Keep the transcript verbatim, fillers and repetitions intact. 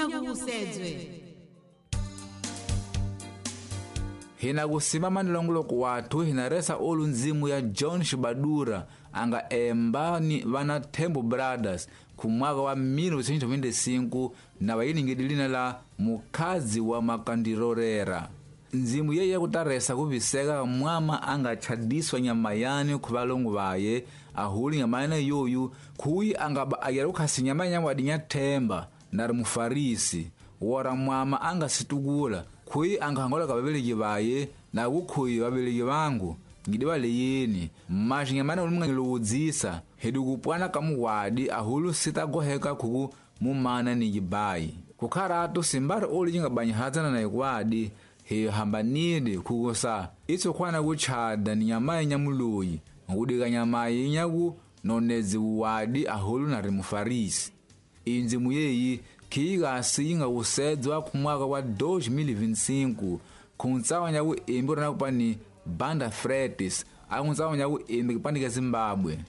Nyakukusedzwe. Hina kusimama nilongoloko wathu hina resa olu nzimu ya John Shibadura anga emba ni vana Tembo Brothers kumwaka wa mil novecentos vinte e cinco na vayiningidi lina la mukhazi wa makandirorera. Nzimu yeye kutaresa kuviseka mwama anga chadiswa nyama yani kuvalongo vaye ahuli nyama yana yoyu kuyi anga ayera kukhasi nyama nyama wadinya themba nari mufarisi wora mwama anga situkula kuyi anga hangola ka vaveleki vaye na kukhuyi vaveleki vangu ngidi valeyeni mashi nyamana uli mungangilowudzisa hedi kupwana ka muwadi ahulu sitagoheka khuku mumana ni yibayi kukharatu simbari uli cingabanyihadzana na ikwadi hiyo hambanile khukusa itso khwana kutchada ni nyamayi nyamuloyi nkudika nyamayi nyaku nonedzi wuwadi ahulu nari mufarisi. Inzimu yeyi khiikasi yingawusedzwa khumwaka wa dois mil e vinte e cinco khuntsawa nyaku embi rona kupani Banda Fretes akuntsawa nyaku embi kipande ka Zimbabwe.